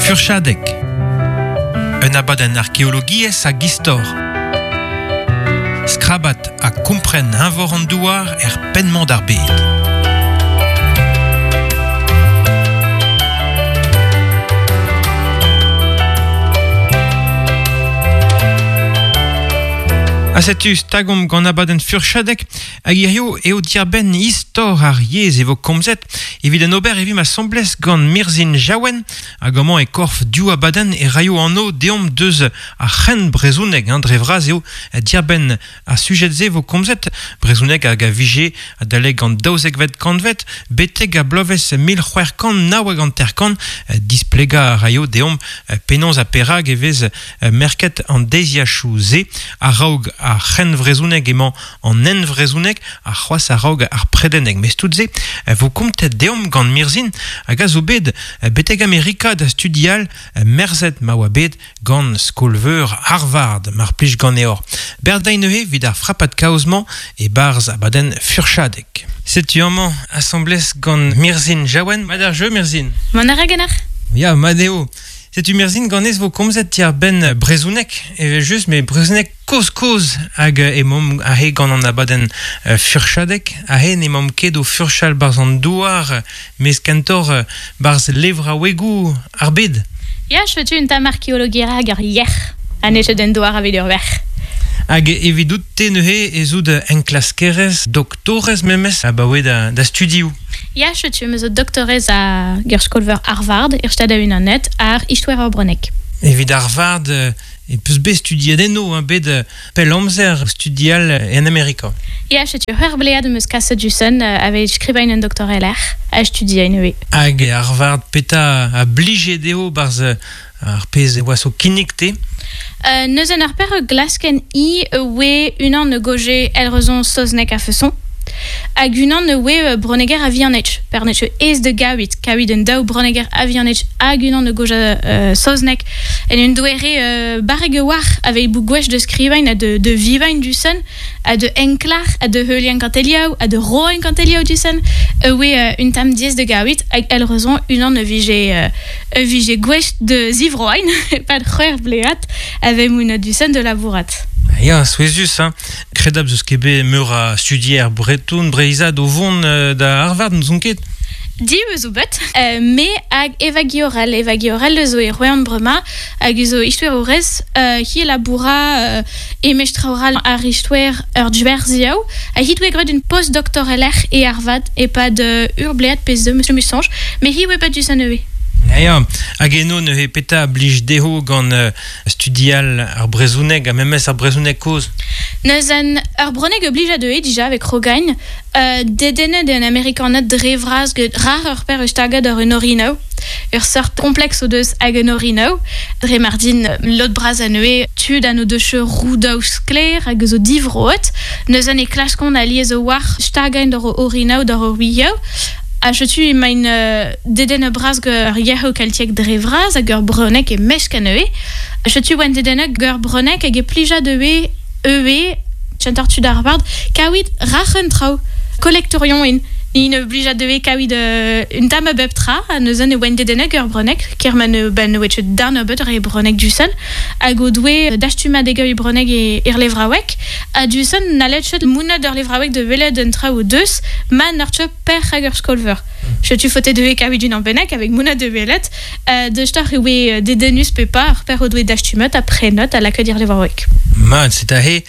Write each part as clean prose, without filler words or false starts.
Furchadeg. Un abadenn arkeologiezh hag istor. Skrabat ha kompren eñvor an douar er penn-mañ d'ar bed. Ha setu stagomp gant abadenn Furchadeg hag hirio eo diarbenn istor ar yezh e vo komzet. Evit en ober e vimp asambles gant Mirzhin Jaouen hag amañ e korf div abadenn e raio anv deomp deus ar c'hent brezhoneg hein, dre vras eo diarbenn ar sujed-se vo komzet brezhoneg hag a vije adalek an daouzekvet kantved betek ar bloavezh 1649 displegañ a raio deomp penaos ha perak e vez merket an deiziachoù-se a-raok ar c'hrennvrezhoneg emañ an henvrezhoneg ha c'hoazh a-raok ar predeneg. Mes tout-se vo kontet deomp gant Mirzhin hag a zo bet betek Amerika da studial merzet ma oa bet gant skol-veur Harvard, mar plij ganeoc'h. Berdañ neuze evit ar frapad kaoz-mañ e-barzh abadenn Furchadeg. Setu amañ asambles gant Mirzhin Jaouen. Mat ar jeu, Mirzhin? Mont a ra ganeoc'h? Ya, mat eo. Setu Mirzhin ganez vo komzet diàr-benn brezhoneg evel-just, met brezhoneg kozh-kozh hag emaomp aze gant an abadenn furchadeg. Aze n'emaomp ket o furchal 'barzh an douar, mes kentoc'h 'barzh levraouegoù ar bed. Ya, setu un tamm arkeologiezh hag ur yec'h ha n'eo ket un douar aveit ur verc'h. Hag evidout-te neuze ez out enklaskerez, doktorez memes abaoe da, da studioù. Ya, setu me zo doktorez a ur skol-veur Harvard er Stad-Unanet àr istoer ur bronneg. Evit Harvard e peus bet studiet eno, hein, bet pell amzer studial en Amerika. Ya, setu c'hwec'h blead am eus kaset du-sen aveit skrivañ un doktorelec'h ha studiañ ivez. Hag Harvard, petra a blije dezho 'barzh ar pezh e oas o kinnig te? Neuze ar per glasken i oe unan e goje elrezon saozneg a-feson hag unan e oe bronneger a-vihanetch per n'eo ket aes da gaouit kaouit un daou bronneger a-vihanetch hag unan e goja saozneg en un doare barrek a-walc'h aveit bout gwech da skrivañ ha da vivañ du-sen ha da enklac'h ha da heuliañ kentelioù ha da roiñ kentelioù du-sen e oe un tamm diaes da gaouit hag elrezon unan e vije e vije gouest da zivroañ e-pad c'hwec'h blead a vez mont du-sen da labourat. Ya, souezhus, hein. Kredabl 'z eus ket bet meur a studier breton, breizhat o vont da Harvard, n'ouzon ket. Div zo bet, me hag Eva Guiorel. Eva Guiorel zo e Royan bremañ hag zo istoerourez. Hi laboura e mestraoral ar istoer ur dwerziaou ha hi doe graet un post-doktorelec'h e Harvard e-pad ur blead pe zeu, me soñj, met hi oa bet diouzh anezhe. Ya, hag eno neuze petra a blij dezho gant studial ar brezhoneg ha memes ar brezhoneg kozh? Neuze ur bronneg a blij dezhe dija avec Rogain. Dedennet eo an Amerikaned dre vras get rar ur per eus tagad ur un orinoù. Ur seurt kompleks o deus hag un orinoù. Dre mardin lod bras anezhe tud ha n'o deus roudoù sklaer hag zo divroet. Neuze e klaskont alies a-walc'h stagañ d'ur orinoù d'ur wioù. Ha setu emaint dedennet bras gant ur yec'hoù keltiek dre vras hag ur bronneg e-mesk anezhe. Setu oant dedennet gant ur bronneg hag e plija dezhe ivez kentoc'h tud Harvard kaouit rac'h un traoù. Kolektourion int. Ni ne blija dezhe kaouit un tamm a bep tra ha neuze ne oant dedennet gant ur bronneg ker ma ne ben ne oa ket darn nebeut re bronneg du-sen hag o doe dastumadegoù bronneg er levraoueg ha du-sen n'hallet ket monet d'ur levraoueg da welet un traoù o deus ma n'eur ket perc'h hag ur skol-veur. Setu faote dezhe kaouit unan bennak avec mona de welet. Deustoc'h e oe dedennus pe pas ar per o doe dastumet ha prenet ha lakaet ir levraoueg. Mat, c'est aze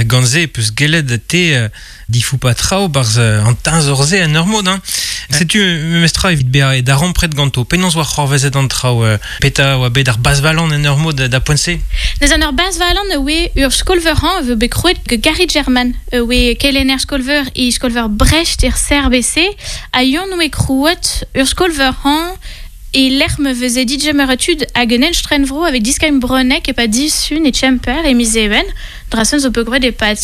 gant se peus gellet te difoupañ traoù 'barzh an teñzor-se en ur mod. Hein. Setu memestra evit bezañ darempred ganto. Penaos oa c'hoarvezet an traoù Petra oa bet ar bazhvalan en ur mod da poent-se? Neuze an ur bazhvalan e oe ur skol-veur-hañv e vo bet krouet gant Gary German e oe kelenner skol-veur e skol-veur Brest er CRBC ha Yann oe krouet ur skol-veur-hañv e lec'h ma veze digemer tud hag un estrenvro aveit diskañ bronneg e-pad disun e Kemper e miz Even, dra-se zo bet graet e-pad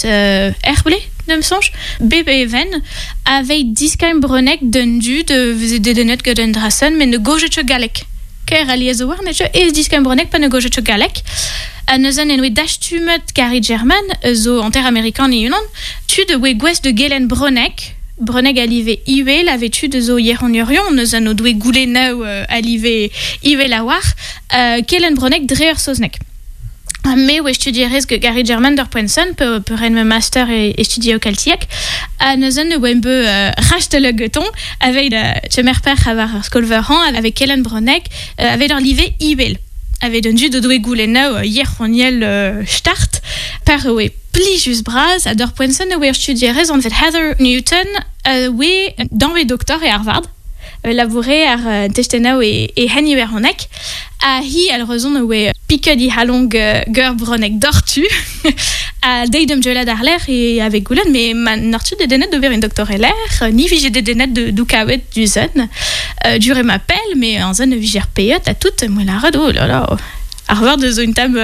Herble, d'am soñj, bep Even, aveit diskañ bronneg d'un dud e veze dedennet gant an dra-sen met ne gaojet ket galleg. Kaer alies a-walc'h ne teu aes diskañ bronneg pa ne gaojet ket galleg. Ha neuze en oe dastumet Gary German, zo hanter-amerikan e-unan, tud e oe gouest da gelenn bronneg. Bronneg a live ivel a vetu de zo yec'honiorion, neus an o doe goulennaou a live ivel a war, kelen bronneg dre ur soznek. Me oe studierez ge Gary German d'ur poent pe, pe ren me master e studio keltiek, ha neuzen ne oa be rastele geton, avec chemer per a war ar skolver-han, avec kelen bronneg, avec ur live ivel. Avec un dud o doe goulennaou yec'honiel start, per oe plijus braz, a d'ur poent oe ur studierez an vet Heather Newton, oe dan doktor e Harvard, laboure ar testennaou e hen iwerhonek, a hi al rezon oe piket i halong geur bronneg dortu, a deidem jelad ar l'air e avec goulen, mais ma nortu de denet d'ober un doktor l'air, ni vije de denet de doukaouet du zen, dure ma pelle, mais an zen vijer peiet a tout, moi la red, oh là là, Harvard zo une tam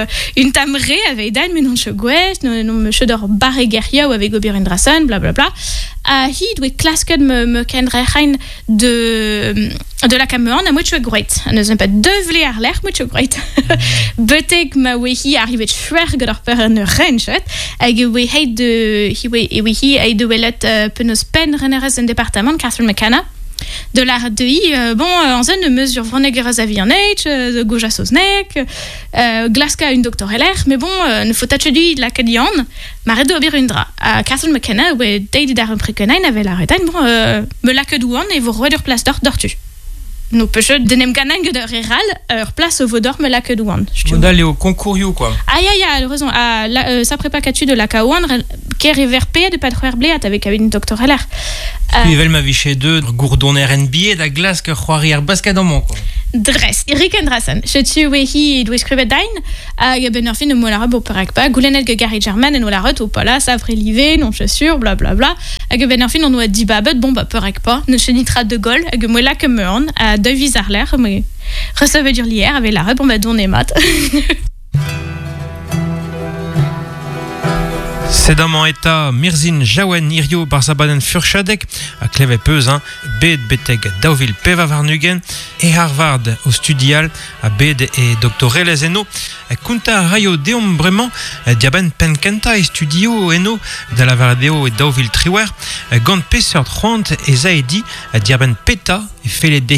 re avec dan mais non che gwech, non me che d'ur barre gerioù avec ober un drasen, bla bla bla. A hi doe klasket me ken rechain de la kamean a moet groet. A pas deux vle ar l'air moet groet. Betek ma oe hi arrivet chwer gant ar per en renchet, hag oe heit de hi oe e oe hi ai de welet penaos pen renerez en departement Catherine McKenna. De la de hi, bon, an zen mesure vronegerez a vi an eit, de goja soznek, glaska un doktor LR, mais bon, ne faut tache du la kadian, ma red ober un dra. A Catherine McKenna, oe deid d'ar un prekenain ave la retain, bon, me la douan e vo roet ur plas d'or d'ortu. No peche denem ganan gant ur eral, ur plas o vo d'or me la douan. Modal eo konkourioù, quoi. Ah, ya, ya, raison. Ah, la, sa prépa katu de la kaouan, ker e ver pe de pat c'hwer bleat avec un doktor LR. Evel ma viche deux gourdon NBA da glask c'hoari ar basket an quoi. Dres, Rick Andrasen. Chetu oe hi doe skrivet dain, hag ben ur fin o mola bo perek pa, goulennet ge Gary German en ola ret o pala, sa vre live, non je sûr, bla bla bla. Hag ben ur fin on oa di babet, bon ba perek pa, ne chenitra de gol, hag moela ke meurn, a deux vis ar l'air, me recevait dur lier, avec la bon ba don mat. Sedamañ eta Mirzin Jaouen irio barzabaden furchadek a kleve peus, hein, bet beteg daouvil peva varnugen e Harvard o studial a bet e doktorelez eno kunta a raio deomp bremañ diaben penkenta e studio eno da la varadeo e daouvil triwer gant peseurt c'hoant e zaedi diaben peta e fele dehi